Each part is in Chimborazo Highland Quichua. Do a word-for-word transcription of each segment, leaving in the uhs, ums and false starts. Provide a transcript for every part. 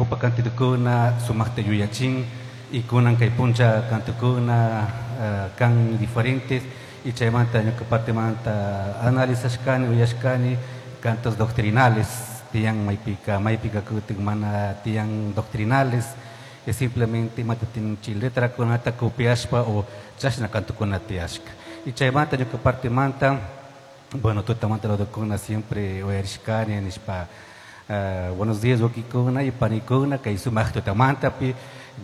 Ñawpa cantukuna sumaqta yuyachin y kunan kay puncha cantukuna uh, kan diferentes y chaymanta ñuka partemanta analizashkani uyashkani cantos doctrinales tiyan maypika maypika kutin mana tiyan doctrinales es simplemente imata tinchi letrakunata copiashpa o chashna cantukuna tiyashka y chaymanta ñuka partemanta bueno tutamanta lodokuna siempre uyarishkani nishpa uh, buenos días wawkikuna y panikuna kay sumaq tutamantapi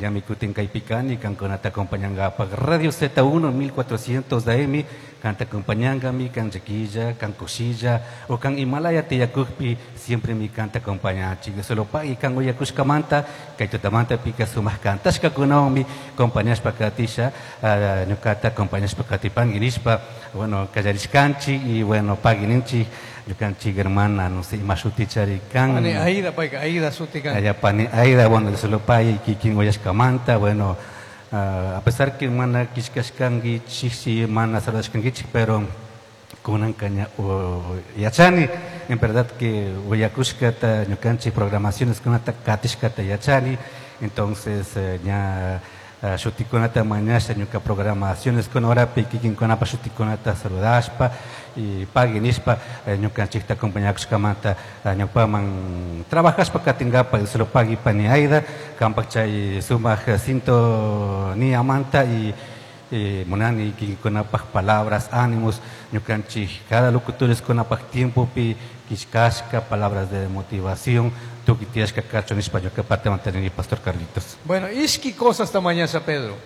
ñami kutin kaypikani kankunata acompañankapaq Radio Z uno mil cuatrocientos A M kanta acompañankami kan llaquilla kan kushilla o kan imalaya tiyakukpi siempre mi kanta acompañanchik solo pagui kan uyakushkamanta kay tutamantapika sumaq kantashkakunawanmi acompañashpa katisha uh, ñukata acompañashpa katipanki nishpa bueno kallarishkanchik y bueno pagui ninchik ñukanchik hermana no sé ima shutichari kan. Pani Aida payka Aida shuti kan. Allá pani Aida, bueno, solo pay kikin uyashkamanta, bueno, uh, a pesar que mana kishkashkankichik, si mana saludashkankichik, pero kunanka ña yachani, en verdad que uyakushkata ñukanchik programaciones kunata katishkata yachani, entonces eh, ña uh, shutikunata mañasha ñuka programaciones kuna horapi kikinkunapa shutikunata saludashpa y pagui nishpa eh, ñukanchikta acompañakushkamanta uh, ñawpaman trabajashpa katinkapa solo pagui pani Aida kampak chay sumaq sintoniamanta y eh, munani kikinkunapaj palabras ánimos ñukanchik cada locutores kunapaj tiempopi kishkashka palabras de motivación tukuy tiyashka kachun nishpa ñuka partemanta nini, pastor Carlitos. Bueno, ishki cosasta mañasha Pedro.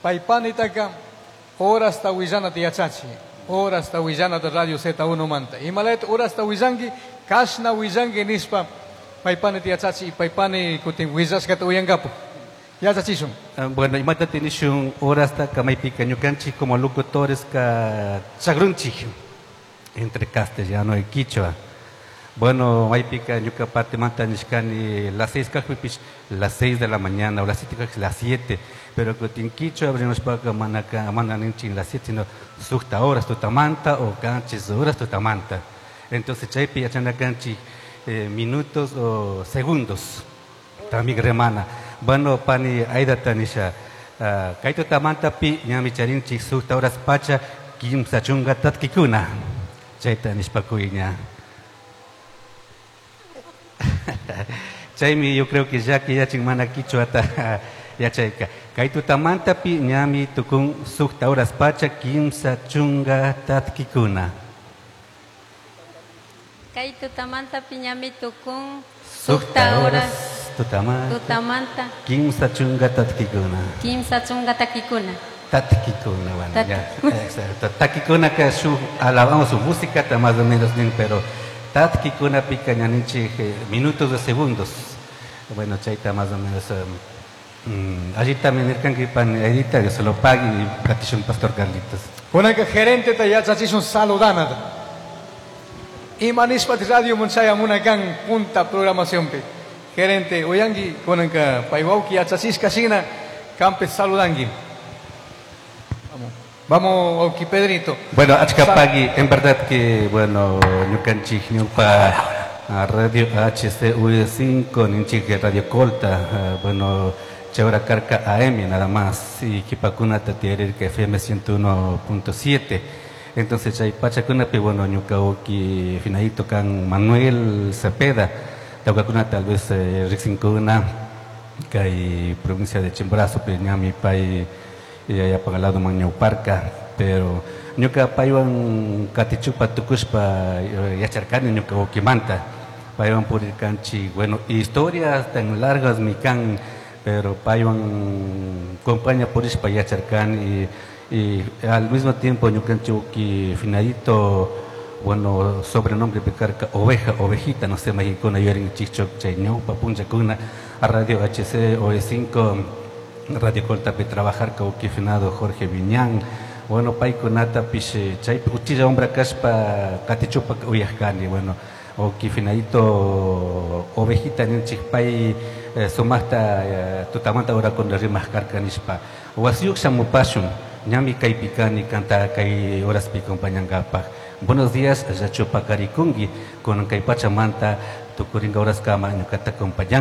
Paypanitaka horasta willanata yachachi. Horasta willanata Radio Z uno manta. Imalayta horasta willanki, kashna willanki nishpa paypanita yachachi y paypani kutin willashkata uyankapu. Yachachishun. Ah, bueno, imata tinishun horasta kamaypika ñukanchik como locutores ka chagrunchik entre castellano y quichua. Bueno, maypika ñuka partemanta nishkani las seis kajpipish las seis de la mañana o las siete kajpi las siete, pero kutin quichua rimashpaka mana ka mana ninchik las siete, sino sukta horas tutamanta o kanchis horas tutamanta. Entonces chaypi yachana kanchik eh, minutos o segundos también remana. Bueno, pani Aida nisha uh, kay tutamantapi ñami charinchik sukta horas pacha kimsa chunka tatkikuna. Chayta nishpa kuyña. Chaymi yo creo que ya que yachin mana quichuata yachayka. Kay tutamantapi ñami tukun sukta horas pacha kimsa chunka tatkikuna. Kay tutamanta ñami tukun sukta horas tutamanta tutamanta kimsa chunka tatkikuna. Kimsa chunka takikuna. Tatkikuna, bueno, Tat- ya. Exacto. Takikuna que su alabamos su música, está más o menos bien, pero tatkikuna pica ñaninchik eh, minutos de segundos. Bueno, chayta más o menos. Um, mm, allí también nirkanki pan edita, Dios se lo pague y platishun pastor Carlitos. Kunanka gerenteta yachachishun saludanata. Ima nishpati radio munchaya kan punta programacionpi. Gerente uyanki kunanka pay wawki yachachishka shina kampi saludanki. Vamos. Vamos, wawki Pedrito. Bueno, achka pagui, en verdad que, bueno, ñukanchik ñupa ah, Radio H C U cinco, ninchik Radio Colta, ah, bueno, chayhora karka A M nada más, y kipakunata tiyarirka F M ciento uno punto siete. Entonces, chay pachakunapi, bueno, ñuka wawki finadito kan Manuel Cepeda, tawkakuna tal vez eh, riksinkuna, kay provincia de Chimborazo, pe ñami pay yaya lado ñawparka, pero ñuka paywan katichupa tukushpa eh, yacharkani ñuka wawkimanta paywan purirkanchik, bueno, historias tan largas mi kan, pero paywan compañía purishpa yacharkani y, y al mismo tiempo ñukanchik wawki finadito, bueno, sobrenombre picarca oveja, ovejita, no sé, mayqankuna yuyarinchikchu chay ñawpa punllakuna a Radio H C O E cinco Radio Coltapi trabajar wawki finado Jorge Viñán, bueno, paykunatapish chaypi uchilla hombra kashpa katichupa uyajkani, bueno, wawki finadito ovejita ninchik pay eh, sumaqta eh, tutamanta horakuna rimaq karka nishpa wasiyuq shamupashun ñami kaypi kani kanta kay horaspi acompañankapaq buenos días llachu paqarikunki kunan kay pachamanta tukurinka horaskama ñukata acompañan.